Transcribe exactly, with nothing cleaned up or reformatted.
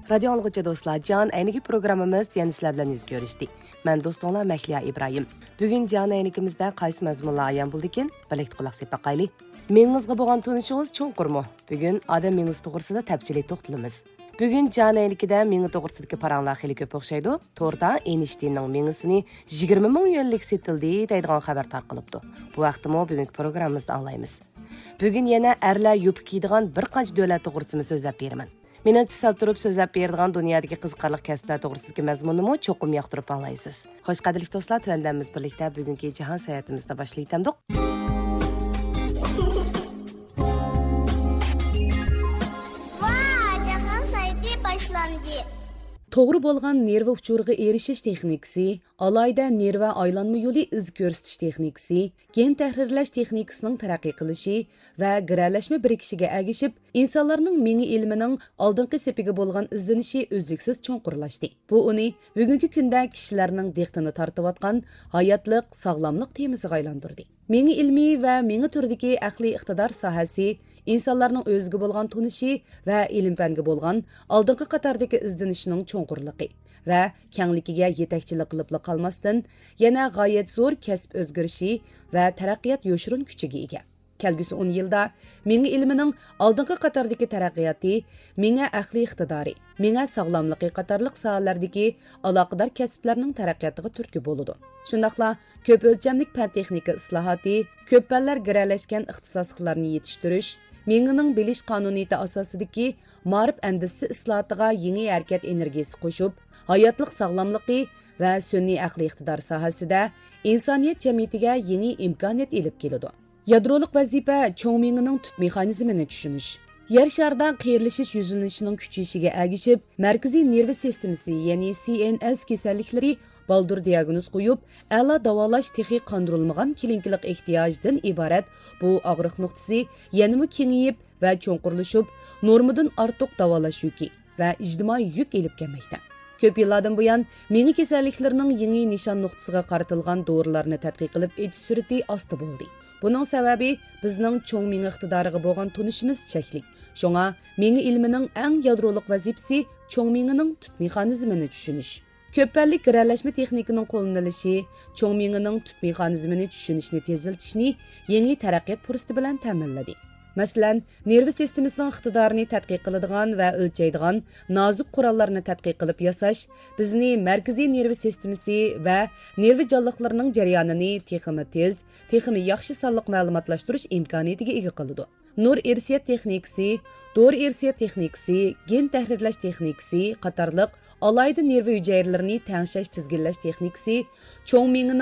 رادىيو ئاڭلىغۇچى دوستلار، جان ئەينىكى پروگراممىمىز يەنە سىلەر بىلەن يۈز كۆرۈشتى. مەن دوستۇڭلار مەھلىيا ئىبراھىم. بۈگۈن جان ئەينىكىمىزدە قايسى مەزمۇنلار ئايان بولدىكىن؟ بىرلىكتە قۇلاق سېلىپ باقايلى. مېڭىڭىزغا بولغان تونۇشىڭىز چوڭقۇرمۇ؟ بۈگۈن ئادەم مېڭىسى توغرىسىدا تەپسىلىي توختىلىمىز. بۈگۈن جان ئەينىكىدە مېڭە توغرىسىدىكى پاراڭلار خېلى كۆپ ئوخشايدۇ. توردا ئېينشتىيننىڭ مېڭىسىنى يىگىرمە مىڭ يۈەنلىك سېتىلدى دەيدىغان خەۋەر تارقىلىپتۇ. بۇ ھەقتىمۇ بۈگۈنكى پروگراممىمىزدا ئاڭلايمىز. بۈگۈن يەنە ئەرلەر يوپكا كىيىدىغان بىر قانچە دۆلەت توغرىسىمۇ سۆزلەپ بېرىمەن. مېنىڭچە، سەل تۇرۇپ سۆزلەپ بېرىدىغان دۇنيادىكى قىزىقارلىق كەسىپلەر توغرىسىدىكى مەزمۇننىمۇ چوقۇم ياقتۇرۇپ ئاڭلايسىز. خوش، قەدىرلىك دوستلار، تۆۋەندە بىز بىرلىكتە بۈگۈنكى جاھان ساياھىتىمىزنى باشلىۋېتەمدۇق. ۋا، جاھان ساياھىتى باشلاندى. توغرا بولغان نېرۋا ئۇچۇرىغا ئېرىشىش تېخنىكىسى، ئالاھىدە نېرۋا ئايلانما يولى ئىز كۆرسىتىش تېخنىكىسى، گېن تەھرىرلەش تېخنىكىسىنىڭ تەرەققىي قىلىشى ۋە گىرەلەشمە بىرىكىشىگە ئەگىشىپ، ئىنسانلارنىڭ مېڭە ئىلمىنىڭ ئالدىنقى سېپىگە بولغان ئىزدىنىشى ئۈزلۈكسىز چوڭقۇرلاشتى. بۇ ئۇنى بۈگۈنكى كۈندە كىشىلەرنىڭ دىققىتىنى تارتىۋاتقان ھاياتلىق، ساغلاملىق تېمىسىغا ئايلاندۇردى. مېڭە ئىلمى ۋە مېڭە تۈرىدىكى ئەقلىي ئىقتىدار ساھەسى ئىنسانلارنىڭ ئۆزىگە بولغان تونۇشى ۋە ئىلىم-پەنگە بولغان ئالدىنقى قاتاردىكى ئىزدىنىشىنىڭ چوڭقۇرلۇقى ۋە كەڭلىكىگە يېتەكچىلىك قىلىپلا قالماستىن، يەنە غايەت زور كەسىپ ئۆزگىرىشى ۋە تەرەققىيات يوشۇرۇن كۈچىگە ئىگە. كەلگۈسى ئون يىلدا مېڭە ئىلمىنىڭ ئالدىنقى قاتاردىكى تەرەققىياتى مېڭە ئەقلىي ئىقتىدارى، مېڭە ساغلاملىقى قاتارلىق ساھەلەردىكى ئالاقىدار كەسىپلەرنىڭ تەرەققىياتىغا تۈرتكە بولىدۇ. شۇنداقلا كۆپ ئۆلچەملىك پەن-تېخنىكا ئىسلاھاتى، كۆپ پەنلەر گىرەلەشكەن ئىختىساسلىقلارنى يېتىشتۈرۈش، مېڭىنىڭ بىلىش قانۇنىيىتى ئاساسىدىكى مائارىپ ئەندىزىسى ئىسلاھاتىغا يېڭى ھەرىكەت ئېنېرگىيىسى قوشۇپ، ھاياتلىق ساغلاملىقى ۋە سۈنئىي ئەقلىي ئىقتىدار ساھەسىدە ئىنسانىيەت جەمئىيىتىگە يېڭى ئىمكانىيەت ئېلىپ كېلىدۇ. يادرولۇق ۋەزىپە، چوڭ مېڭىنىڭ تۈپ مېخانىزمىنى چۈشىنىش. يەر شارىدا قېرىلىشىش يۈزلىنىشىنىڭ كۈچىيىشىگە ئەگىشىپ، مەركىزىي نېرۋا سىستېمىسى، يەنى سى ئېن ئېس كېسەللىكلىرى بالدۇر دىئاگنوز قويۇپ، ئەلا داۋالاش تېخى قاندۇرۇلمىغان كلىنىكىلىق ئېھتىياجدىن ئىبارەت بۇ ئاغرىق نۇقتىسى يەنىمۇ كېڭىيىپ ۋە چوڭقۇرلىشىپ، نورمىدىن ئارتۇق داۋالاش يۈكى ۋە ئىجتىمائىي يۈك ئېلىپ كەلمەكتە. كۆپ يىللاردىن بۇيان، مېڭە كېسەللىكلىرىنىڭ يېڭى نىشان نۇقتىسىغا قارىتىلغان دورىلارنى تەتقىق قىلىپ ئېچىش سۈرئىتى ئاستا بولدى. بۇنىڭ سەۋەبى، بىزنىڭ چوڭ مېڭە ئىقتىدارىغا بولغان تونۇشىمىز چەكلىك. شۇڭا، مېڭە ئىلمىنىڭ ئەڭ يادرولۇق ۋەزىپىسى چوڭ مېڭىنىڭ تۈپ مېخانىزمىنى چۈشىنىش. كۆپ پەنلىك گىرەلەشمە تېخنىكىنىڭ قوللىنىلىشى چوڭ مېڭىنىڭ تۈپ مېخانىزمىنى چۈشىنىشنى تېزلىتىشنى يېڭى تەرەققىيات پۇرسىتى بىلەن تەمىنلىدى. مەسىلەن، نېرۋا سىستېمىسىنىڭ ئىقتىدارىنى تەتقىق قىلىدىغان ۋە ئۆلچەيدىغان نازۇك قوراللارنى تەتقىق قىلىپ ياساش بىزنى مەركىزىي نېرۋا سىستېمىسى ۋە نېرۋا جانلىقلىرىنىڭ جەريانىنى تېخىمۇ تېز، تېخىمۇ ياخشى سانلىق مەلۇماتلاشتۇرۇش ئىمكانىيىتىگە ئىگە قىلىدۇ. نۇر ئىرسىيەت تېخنىكىسى، دورا ئىرسىيەت تېخنىكىسى، گېن تەھرىرلەش تېخنىكىسى قاتارلىق ئالاھىدە نېرۋا ھۈجەيرىلىرىنى تەڭشەش، تىزگىنلەش تېخنىكىسى چوڭ مېڭىنىڭ